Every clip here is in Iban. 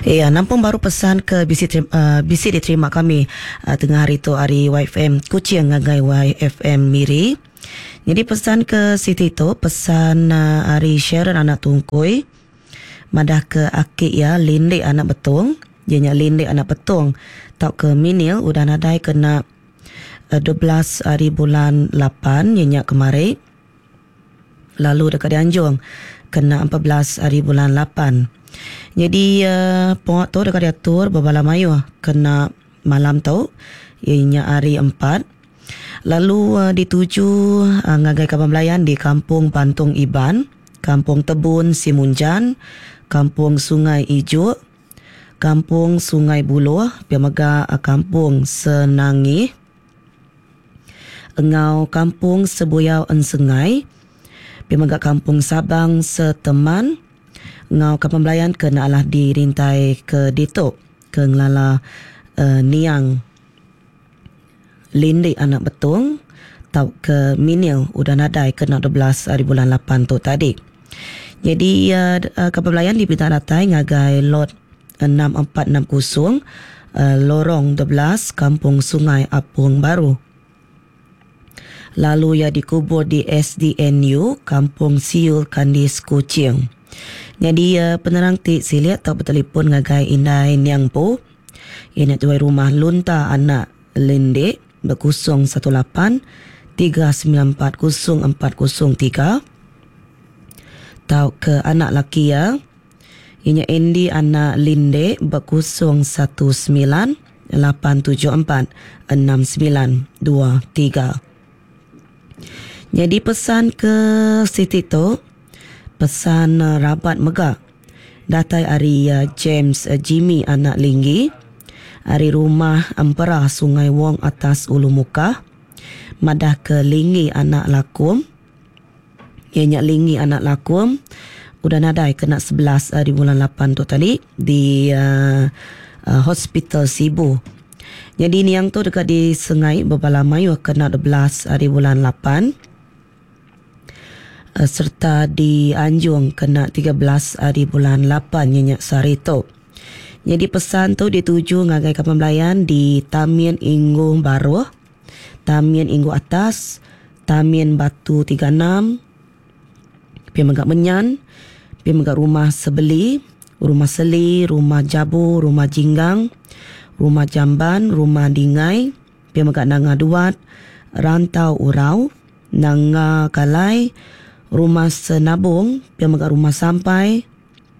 Iya nampung baru pesan ke bisi bisi diterima kami tengah hari tu ari YFM Kuching ngagai YFM Miri. Nyadi pesan ke siti tu pesan ari Sharon anak Tungkui madah ke aki iya Lindik anak Betong iya nya Lindik anak Betong tauka Minil udah nadai kena 12 hari bulan lapan iya nya kemari. Lalu deka dianjung kena 14 hari bulan lapan. Nyadi pengawa tu deka diatur bebala mayuh kena malam tu iya nya hari empat lalu dituju ngagai kaban belayan di Kampung Bantung Iban, Kampung Tebun Simunjan, Kampung Sungai Ijuk, Kampung Sungai Buloh pia mega Kampung Senangih. Enggau Kampung Sebuyau Ensengai, pia mega Kampung Sabang Seteman enggau Kampung Belayan ke enda alah dirintai ke ditu ke ngelala niang Lindik anak Betong tauka Minil udah nadai kena 12 hari bulan lapan tu tadi. Nyadi Kampung Belayan dipinta datai ngagai lot 6460 Lorong 12 Kampung Sungai Apung Baru. Lalu iya dikubur di SDNU Kampung Siul Kandis Kuching. Nyadi penerang ti silik tau betelipon ngagai indai niang empu iya nya tuai rumah Lunta anak Lindik ba 018 394 0403 tauka anak laki iya Iya nya Andy anak Linde ba 019 874 6923. Nyadi pesan ke siti tu, pesan rabat mega datai ari James Jimmy anak Linggi ari Rumah Empera Sungai Wong Atas Ulu Mukah madahka Linggi anak Lakum. Iya nya Lingi anak Lakum udah nadai kena 11 ari bulan lapan tu tadi di Hospital Sibu. Nyadi niang tu deka disengai bebala mayuh kena 12 ari bulan lapan sereta dianjung kena 13 ari bulan lapan iya nya sehari tu. Nyadi pesan tu dituju ngagai kaban belayan di Tamin Inggu Baruh. Tamin Inggu Atas, Tamin Batu 36, pia mega Menyan, pia mega Rumah Sebeli, Rumah Seli, Rumah Jabu, Rumah Jinggang, Rumah Jamban, Rumah Dingai, pia mega Nanga Duat, Rantau Urau, Nanga Kalai, Rumah Senabong, pia mega Rumah Sampai,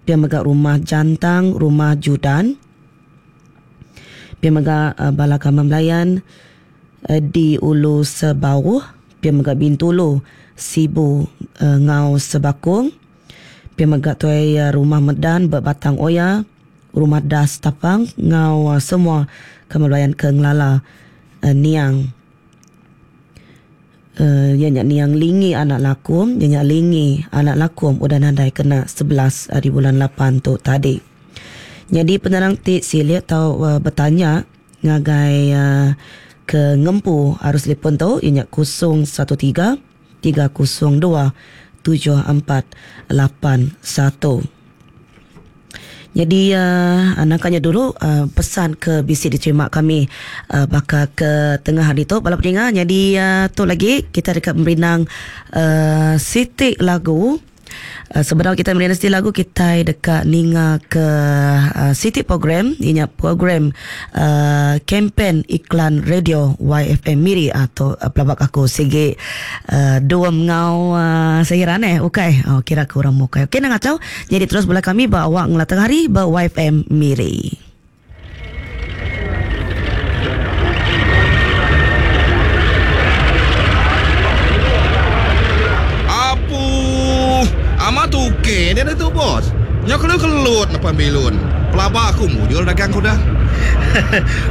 pia mega Rumah Jantang, Rumah Judan. Pia mega bala kaban belayan di Ulu Sebauh, pia mega Bintulu, Sibu enggau Sebakung. Pia mega tuai Rumah Medan ba Batang Oya, Rumah Das Tapang enggau semua kaban belayan ke ngelala niang iya nya niang Lingi anak Lakum, iya nya Lingi anak Lakum udah nadai kena 11 ari bulan lapan tu tadi. Nyadi penerang ti silik tau betanya ngagai ke ngempu arus telefon tu iya nya 013 302 7481. Nyadi nangka nya dulu pesan ke bisi diterima kami baka ke tengah hari tu bala peninga. Nyadi tu lagi kita deka merindang siti lagu. Sebedau kitai merindang siti lagu kitai deka ninga ke siti program iya nya program kempen iklan radio YFM Miri tu pelaba aku sigi dua enggau Sahiran eh ukai kira ke orang mukai. Okey nang achau nyadi terus bala kami ba awak ngela tengah hari ba YFM Miri. Apu. Amat ok dia ditu bos. Nyau kelu kelut nepan bilun. Pelaba aku mujur dagang ku dah.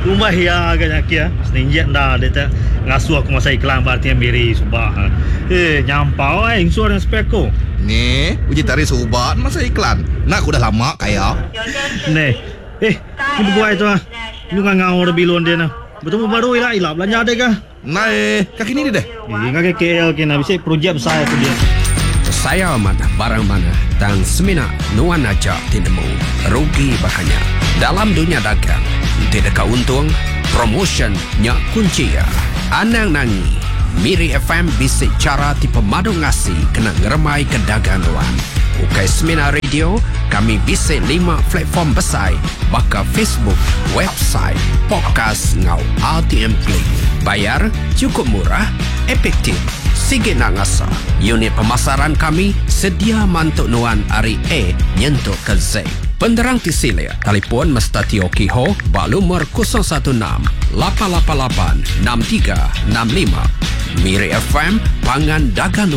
Umbah iya ga nya kia. Seninjik enda dia te ngasuh aku masa iklan ba RTM Miri suba. Eh nyampau ai insur nya spek ku. Neh, uji tari suba masa iklan. Enda ku dah lama kaya. Neh. Eh, ni beguai tu ah. Nyu ngangau da bilun dia nah. Betemu baru ila ila belanja deh kah. Ndai, ka kini deh. Eh, ngagai KL kina bisi projek besai aku dia. Sayau amat barang manah tang semina nuan aja ti nemu. Rugi baka nya. Dalam dunya dagang, enti deka untung, promotion nya kunchi iya. Anang nangi, Miri FM bisi chara ti pemadu ngasi kena ngerembaika dagang nuan. Ukai semina radio, kami bisi lima platform besai baka Facebook, website, podcast enggau RTM Play. Bayar chukup murah, efektif, sigi enda ngasa. Unit pemasaran kami sedia mantu nuan ari A nyentuk ke Z. Penerang ti silik, telefon Mesta Teo Kee Ho ba lumur 016 888 6365. Miri FM, pangan dagang nuan.